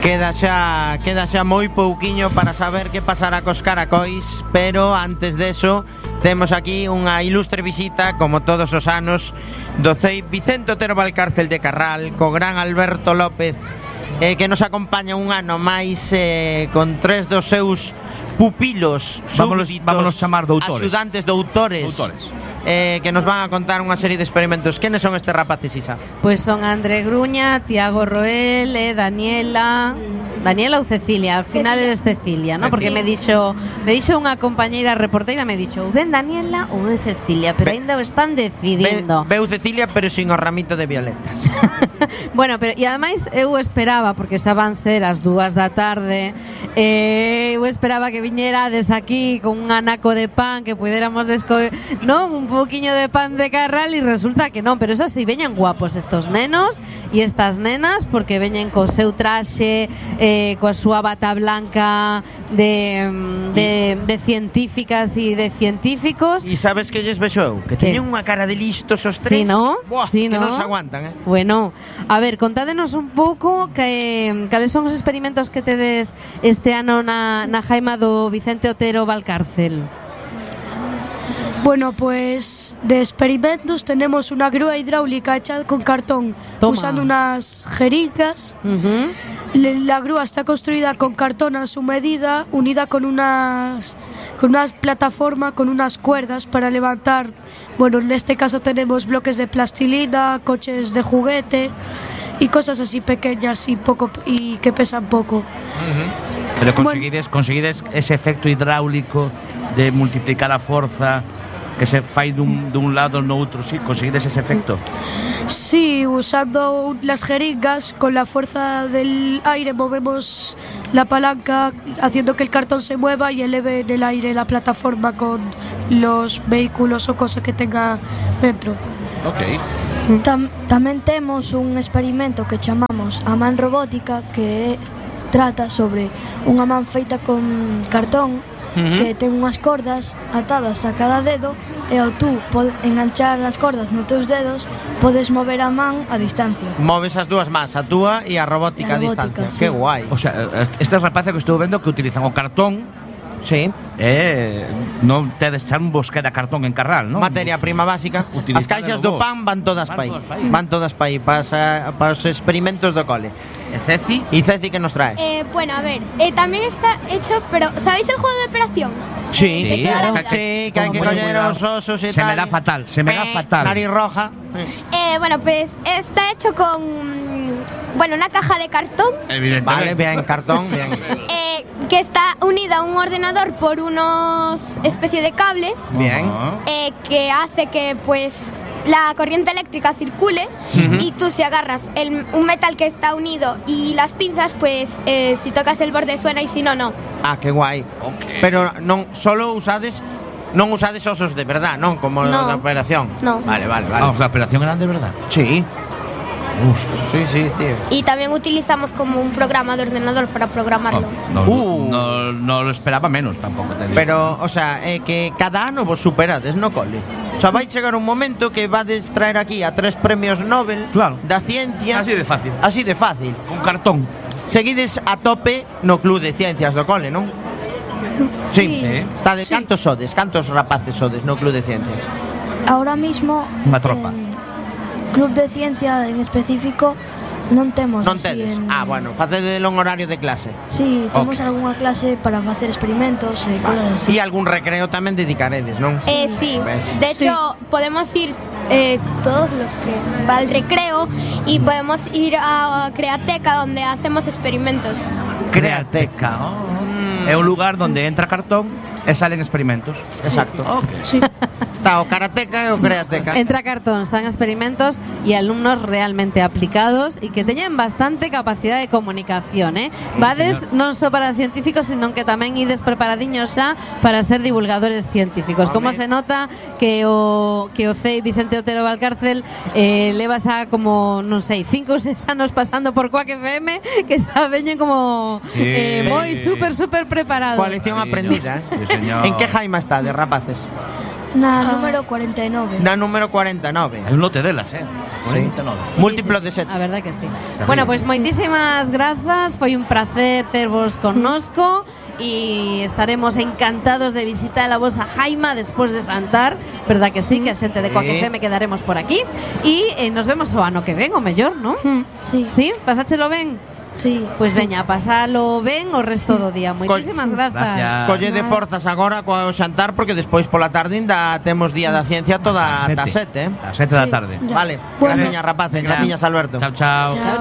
Queda xa moi pouquiño para saber que pasará cos caracois, pero antes deso temos aquí unha ilustre visita, como todos os anos, do CEI Vicente Otero Valcárcel de Carral, co gran Alberto López, que nos acompaña un ano máis con 3 dos seus pupilos súbditos, vámonos chamar doutores. Axudantes doutores. Que nos van a contar unha serie de experimentos. Quenes son estes rapaces, Isa? Pois son André Gruña, Tiago Roel, Daniela ou Cecilia. Al final eres Cecilia, ¿no? Porque me dixo unha compañeira reporteira, me dixo, ben Daniela ou ben Cecilia, pero ainda o están decidindo. Veu Cecilia, pero sin o ramito de violetas. Bueno, pero e ademais eu esperaba, porque xa van ser as 2 da tarde, eu esperaba que viñerades aquí con un anaco de pan, que puidéramos non, un poquinho de pan de Carral, e resulta que non, pero eso sí, veñen guapos estos nenos e estas nenas, porque veñen co seu traxe, coa súa bata blanca de científicas e de científicos. E sabes que lles vexo eu? Que teñen unha cara de listos os tres. Sí, ¿no? Buah, sí, que ¿no? non se aguantan, Bueno, a ver, contádenos un pouco cales son os experimentos que tedes este ano na jaima do Vicente Otero Valcárcel. Bueno, pues de experimentos tenemos una grúa hidráulica hecha con cartón. Toma. Usando unas jeringas. La grúa está construida con cartón a su medida, unida con una plataforma, con unas cuerdas para levantar. Bueno, en este caso tenemos bloques de plastilina, coches de juguete y cosas así pequeñas y que pesan poco. Pero conseguides ese efecto hidráulico de multiplicar a forza que se fai dun lado no outro, sí, conseguides ese efecto. Sí, usando las jeringas, con la fuerza del aire movemos la palanca, haciendo que el cartón se mueva y eleve en el aire la plataforma con los vehículos o cosas que tenga dentro. Ok. Tamén temos un experimento que chamamos a man robótica, que trata sobre unha man feita con cartón, que ten unhas cordas atadas a cada dedo, e ao tú enganchar as cordas nos teus dedos podes mover a man a distancia. Moves as dúas mans, a túa e a robótica a distancia. Sí. Que guai. O sea, estas rapaces que estou vendo que utilizan o cartón. Sí. Non tedes xa un bosque de cartón en Carral, non? Materia prima básica. Utilizar As caixas do pan van todas pa aí. Van todas pa aí para os experimentos do cole. E Ceci que nos trae? Bueno, a ver, también está hecho, pero ¿sabéis el juego de operación? Sí, claro. Sí, que hai que coller os osos e tal. Se me da fatal. Nariz roja. Bueno, pues está hecho con, una caja de cartón. Evidentemente. Vale, bien, cartón, bien. Que está unida a un ordenador por unos especie de cables. Bien. Que hace que, pues, la corriente eléctrica circule, y tú, si agarras un metal que está unido y las pinzas, pues si tocas el borde suena, y si no, no. Ah, que guai. Okay. Pero non solo usades osos de verdad, non? Como no. da operación. No. Vale. Vamos, la operación eran de verdad. Sí. Sí, tío. Y también utilizamos como un programa de ordenador para programarlo. No lo esperaba menos tampoco. Pero, o sea, que cada ano vos superades no cole. O sea, vai chegar un momento que vades traer aquí a 3 premios Nobel, claro, da ciencia. Así de fácil. Un cartón. Seguides a tope no Club de Ciencias do cole, non? Sí. Estades, sí. Cantos rapaces sodes no Club de Ciencias? Ahora mismo unha tropa. Club de Ciencia en específico non temos. Non tedes? Bueno, facedelo en horario de clase. Sí, temos algunha clase para facer experimentos e cosas así. E algún recreo tamén dedicaredes, non? Sí. De hecho, podemos ir todos los que va al recreo, y podemos ir a Createca, donde hacemos experimentos. Createca, é un lugar donde entra cartón e salen experimentos. Exacto. Okay. Sí. Está o Karateka e o Createca. Entra cartón, están experimentos e alumnos realmente aplicados e que teñen bastante capacidade de comunicación, Vades non só para científicos, sino que tamén ides preparadiños xa para ser divulgadores científicos. Como se nota que o CEI Vicente Otero Valcárcel leva xa como, non sei, 5 ou 6 anos pasando por Quack FM, que xa veñen como moi super preparados. Coa lección aprendida, Sí, señor. En que jaima está de rapaces? Na número 49. Na número 49. Hai un lote delas, 49. Múltiplo de Sí, 7. a verdade que sí. Bueno, pois moitísimas grazas, foi un placer tervos connosco e estaremos encantados de visitar a vosa Jaima despois de Santar, verdad que sí, que a xente de Coac FM quedaremos por aquí e nos vemos o ano que ven, o mellor, non? Sí. Sí, pasáchelo ben? Sí. Pois veña, pasalo ben o resto do día. Moitísimas grazas. Gracias. Colle de forzas agora co xantar porque despois pola tarde ainda temos día da ciencia toda Ás ata sete. 7, A 7 da tarde. Ya. Vale, Bueno. graciñas rapaces, graciñas Alberto. Chao, chao. Chao.